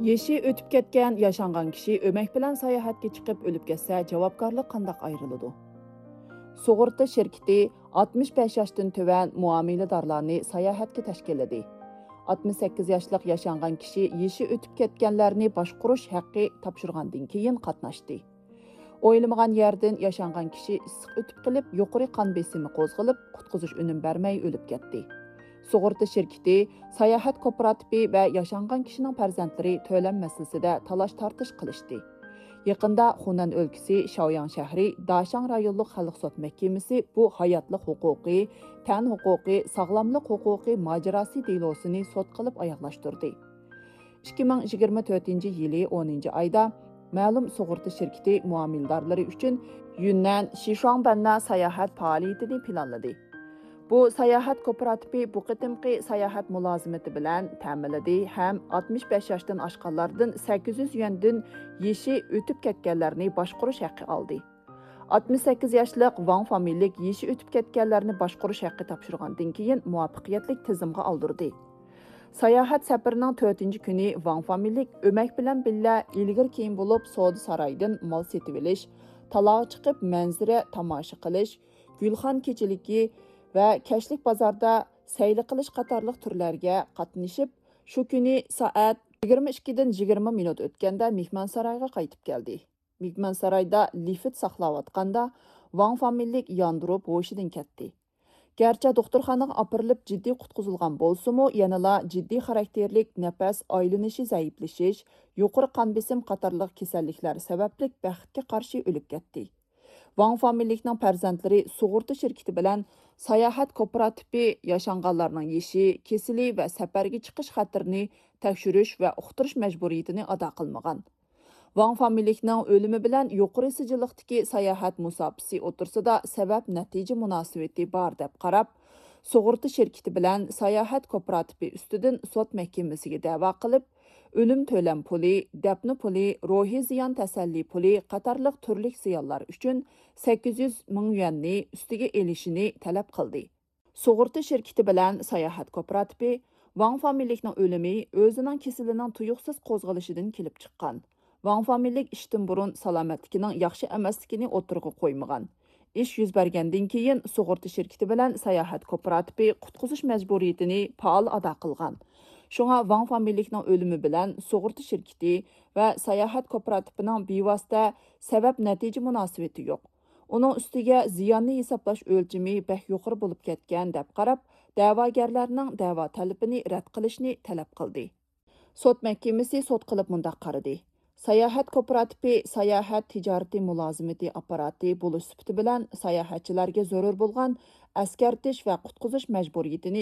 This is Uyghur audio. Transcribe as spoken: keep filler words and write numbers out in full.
يېشى ئۆتۈپ كەتكەن ياشانغان كىشى ئۆمەك بىلەن ساياھەتكە چىقىپ ئۆلۈپ كەتسە، جاۋابكارلىق قانداق ئايرىلىدۇ؟ سۇغۇرتا شىركىتى ئاتمىش بەش ياشتىن تۆۋەن مۇئامىلىدارلارنى ساياھەتكە تەشكىللىدى. ئاتمىش سەككىز ياشلىق ياشانغان كىشى يېشى ئۆتۈپ كەتكەنلەرنى باشقۇرۇش ھەققى تاپشۇرغاندىن كېيىن قاتناشتى. ئويلىمىغان يەردىن ياشانغان كىشى ئىسسىق ئۆتۈپ قېلىپ، يۇقىرى قان بېسىمى قوزغىلىپ، قۇتقۇزۇش ئۈنۈم بەرمەي ئۆلۈپ كەتتى. سۇغۇرتا شىركىتى، ساياھەت كوپىراتىپى ۋە ياشانغان كىشىنىڭ پەرزەنتلىرى تۆلەم مەسىلىسىدە تالاش-تارتىش قىلىشتى. يېقىندا خۇنەن ئۆلكىسى شاۋياڭ شەھىرى داشاڭ رايونلۇق خەلق سوت مەھكىمىسى بۇ ھاياتلىق ھوقۇقى، تەن ھوقۇقى، ساغلاملىق ھوقۇقى ماجىراسى دېلوسىنى سوت قىلىپ ئاياغلاشتۇردى. ئىككى مىڭ يىگىرمە تۆتىنچى يىلى ئونىنچى ئايدا مەلۇم سۇغۇرتا شىركىتى مۇئامىلىدارلىرى ئۈچۈن يۈننەن شىشۇاڭبەننە ساياھەت پائالىيىتىنى پىلانلىدى. بۇ ساياھەت كوپىراتىپى بۇ قېتىمقى ساياھەت مۇلازىمىتى بىلەن تەمىنلىدى ھەم ئاتمىش بەش ياشتىن ئاشقانلاردىن سەككىز يۈز يۈەندىن يېشى ئۆتۈپ كەتكەنلەرنى باشقۇرۇش ھەققى ئالدى. ئاتمىش سەككىز ياشلىق ۋاڭ فامىلىلىك يېشى ئۆتۈپ كەتكەنلەرنى باشقۇرۇش ھەققى تاپشۇرغاندىن كېيىن مۇۋەپپەقىيەتلىك تىزىمغا ئالدۇردى. ساياھەت سەپىرىنىڭ تۆتىنچى كۈنى ۋاڭ فامىلىلىك ئۆمەك بىلەن بىللە ئىلگىرى كېيىن بولۇپ سودا سارايىدىن مال سېتىۋېلىش، تالاغا چىقىپ مەنزىرە تاماشا قىلىش، گۈلخان كېچىلىكى ۋە كەچلىك بازاردا سەيلە قىلىش قاتارلىق تۈرلەرگە قاتنىشىپ، شۇ كۈنى سائەت يىگىرمە ئىككىدىن يىگىرمە مىنۇت ئۆتكەندە مېھمانسارايغا قايتىپ كەلدى. مېھمانسارايدا لىفىت ساقلاۋاتقاندا، ۋاڭ فامىلىلىك ياندۇرۇپ ھوشىدىن كەتتى. گەرچە دوختۇرخانىغا ئاپىرىلىپ جىددىي قۇتقۇزۇلغان بولسىمۇ، يەنىلا جىددىي خاراكتېرلىك نەپەس ئايلىنىشى زەئىپلىشىش، يۇقىرى قان بېسىم قاتارلىق كېسەللىكلەر سەۋەبلىك بەختكە قارشى ئۆلۈپ كەتتى. ۋاڭ فامىلىلىكنىڭ پەرزەنتلىرى سۇغۇرتا شىركىتى بىلەن ساياھەت كوپىراتىپى ياشانغانلارنىڭ يېشى، كېسىلى ۋە سەپەرگە چىقىش خەتىرىنى تەكشۈرۈش ۋە ئۇقتۇرۇش مەجبۇرىيىتىنى ئادا قىلمىغان. ۋاڭ فامىلىلىكنىڭ ئۆلۈمى بىلەن يۇقىرى سىجىللىقتىكى ساياھەت مۇساپىسى ئوتتۇرىسىدا سەۋەب-نەتىجە مۇناسىۋىتى بار دەپ قاراپ، سۇغۇرتا شىركىتى بىلەن ساياھەت كوپىراتىپى ئۈستىدىن سوت مەھكىمىسىگە دەۋا قىلىپ، ئۆلۈم تۆلەم پۇلى، دەپنە پۇلى، روھىي زىيان تەسەللى پۇلى قاتارلىق تۈرلۈك زىيانلار ئۈچۈن سەككىز يۈز مىڭ يۈەننى ئۈستىگە ئېلىشىنى تەلەپ قىلدى. سۇغۇرتا شىركىتى بىلەن ساياھەت كوپىراتىپى ۋاڭ فامىلىلىكنىڭ ئۆلۈمى ئۆزىنىڭ كېسىلىنىڭ تۇيۇقسىز قوزغىلىشىدىن كېلىپ چىققان. ۋاڭ فامىلىلىك ئىشتىن بۇرۇن سالامەتلىكىنىڭ ياخشى ئەمەسلىكىنى ئوتتۇرىغا قويمىغان. ئىش يۈز بەرگەندىن كېيىن سۇغۇرتا شىركىتى بىلەن ساياھەت كوپىراتىپى قۇتقۇزۇش مەجبۇرىيىتىنى پائال ئادا قىلغان. شۇڭا ۋاڭ فامىلىلىكنىڭ ئۆلۈمى بىلەن سۇغۇرتا شىركىتى ۋە ساياھەت كوپىراتىپىنىڭ بىۋاسىتە سەۋەب-نەتىجە مۇناسىۋىتى يوق. ئۇنىڭ ئۈستىگە زىياننى ھېسابلاش ئۆلچىمى بەك يۇقىرى بولۇپ كەتكەن دەپ قاراپ، دەۋاگەرلەرنىڭ دەۋا تەلىپىنى رەت قىلىشنى تەلەپ قىلدى. سوت مەھكىمىسى سوت قىلىپ مۇنداق قارىدى: ساياھەت كوپىراتىپى ساياھەت تىجارىتى مۇلازىمىتى ئاپپاراتى بولۇش سۈپىتى بىلەن ساياھەتچىلەرگە زۆرۈر بولغان ئەسكەرتىش ۋە قۇتقۇزۇش مەجبۇرىيىتىنى